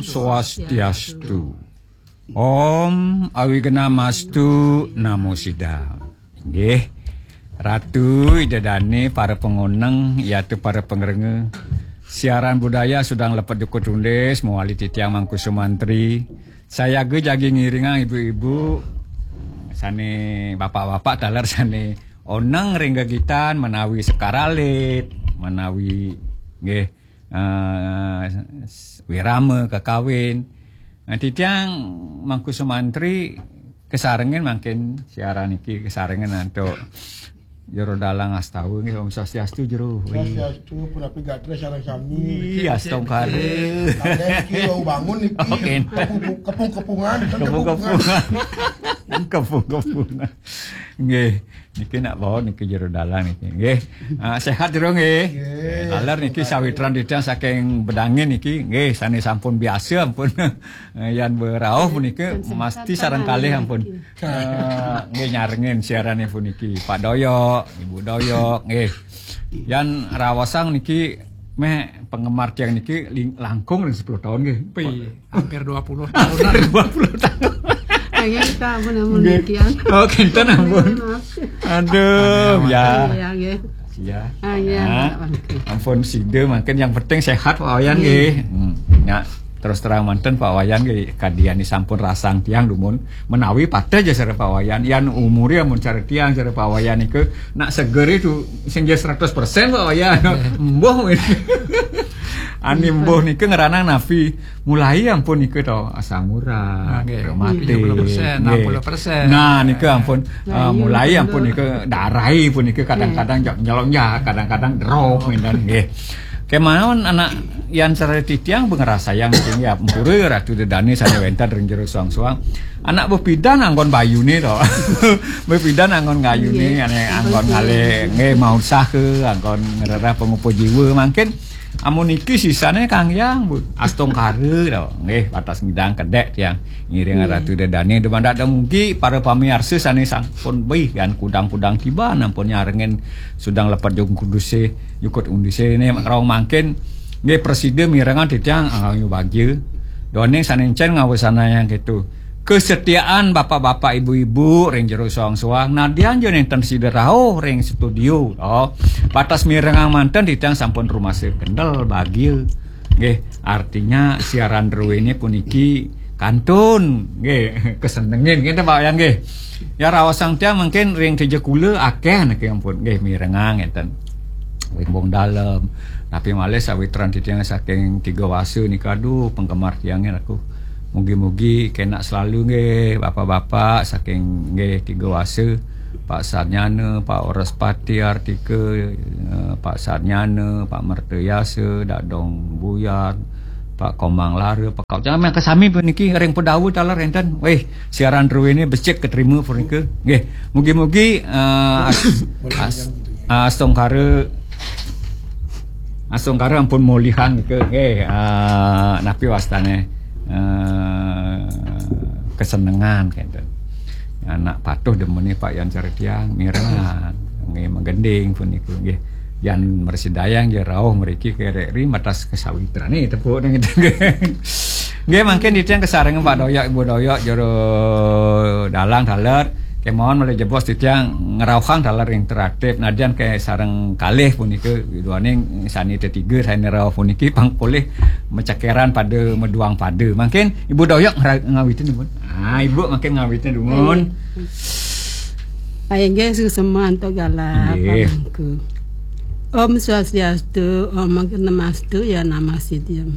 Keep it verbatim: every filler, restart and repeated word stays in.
Swastiastu. Om Awignamastu Namo Siddham. Nggih. Ratu, Ida Dane, para pangoneng, yatu para pangrengga. Siaran budaya Sudang Lepet Jukut Undis, mawali titiang Mangku Sumantri. Sayaga jagi ngiringang ibu-ibu sane, bapak-bapak taler sane oneng ring gegitan menawi sekar alit, menawi nggih, eh, wirama kakawin. Nah, titiang Mangku Sumantri kasarengin mangkin siaran niki kasarengin antuk Jero Dalang Astawa nggih. Om Swastiastu, Jero. Swastiastu, punapi gatra sareng sami. Iya, astungkara. Ada niki wau bangun niki. Oke. Kepung-, kepung-kepungan, bukan kepung-kepungan. Kepung-kepungan. Nggih, niki nak bawa niki Jero Dalang niki. Nggih. Ah, sehat, Jero, nggih. Nggih. Taler niki sawitran titiang saking Bedangin niki. Nggih, sane sampun biasa ampun. Eh, yan berauh punika mesti sareng kalih ampun. Eh, nggih, nyarengin siarane puniki. Pak Doyok, Ibu Doyok, nggih. Yan raosang niki meh penggemar tiang niki ling-, langkung ring sepuluh tahun nggih. Pi, hampir dua puluh tahun. Hampir dua puluh tahun. Kayaknya kita apa namanya nggih. Kian. Oh, kinten ampun. Maaf. Aduh, ya. Iya, nggih. Ya. Ah, iya, nah, Pak Wayan. Ampun sida mangkin yang penting sehat Pak Wayan nggih. Hmm. Ya, terus terang manten Pak Wayan nggih, kadi ani sampun rasang tiang dumun menawi pateh ja sareng Pak Wayan. Yan umure amun cara tiang sareng Pak Wayan niku nak seger itu sing ja seratus persen Pak Wayan. Mbuh. Ani mbuh niku ngranang napi? Mulai ampun niku to, asam urat, ah, nggih, rematik, tujuh puluh persen, nggih, enam puluh persen. Nah, niku ampun, nah, eh, iya, mulai betul. Ampun niku darai pun niku kadang-kadang jok nyelonjak, kadang-kadang drop ngenten nggih. Kemawon anak yan sareng titiang ngrasayang nggih ampura Ratu Dedane sane wenten ring jero suang-suang. Anak bepidan anggon bayune to. Bepidan anggon gayune, nggih, ane anggon ngalih nggih mau usaha, anggon ngrereh pangupa jiwa mangkin. Amun niki sisane Kang Hyang, Bu. Astungkara to. Nggih, wates ngidang kedek tiang ngiring, nggih, Ratu Dedane dumadak dumugi para pamiarsa sane sampun bih kan kudang-kudang tiban ampun nyarengin Sudang Lepet Jukut Undise, Jukut Undise ne rong mangkin nggih prasida mirengang titiang angga bagya. Duaning sane encen ngawasanayang keto. Kesetiaan bapak-bapak ibu-ibu ring jero soang-soang, nadyan ja nenten sida rauh ring studio, to. Wates mirengang manten titiang sampun rumasa kendel bagia. Nggih, artinya siaran druene puniki kantun, nggih, kesenengin, ngenten Pak Wayan nggih. Ya raosang tiang mungkin ring Tejakula akeh niki ampun, nggih, mirengang ngenten. Wimbung Dalem. Tapi malih sawitran titiang saking Tiga Wasa nika, aduh, penggemar tiangnya aku. Mugi-mugi kenak selalu nggih, bapak-bapak saking nggih Tiga Wasa, Pak Sarnyana, Pak Wraspati Artika, eh, Pak Sarnyana, Pak Mertayasa, Dadong Buyar, Pak Komang Lara, Pak Kau. Jangan yang kesami puniki ring Pedawa taler enten. Weh, siaran druene becik keterima punika. Nggih, mugi-mugi, eh, as-, as-, astungkara Astungkara ampun mulihan ke, nggih, ah, napi wastane, eh, kesenengan kenten. Anak patuh demene Pak Yan Certiang, mirengan, nggih, magending puniku, nggih. Yan mresidayang ja rauh mriki kerek ri matas kesawitrane tepuk ning itu, nggih. Nggih, mangkin titiang kasareng Pak Doyok, Ibu Doyok, jero dalang taler. Kemawon malih jebos titiang ngrauhang taler interaktif. Nadyan kasareng kalih punika, duaning sane tetiga sane rauh puniki pang polih macekeran pada maduang pada. Mangkin Ibu Doyok ngera-, ngawitin dumun. Ah, Ibu mangkin ngawitin dumun. Inggih, suksema antuk galah, nggih, pamangku. Om Swastiastu, Om Awignamastu, ya Namah Siddham.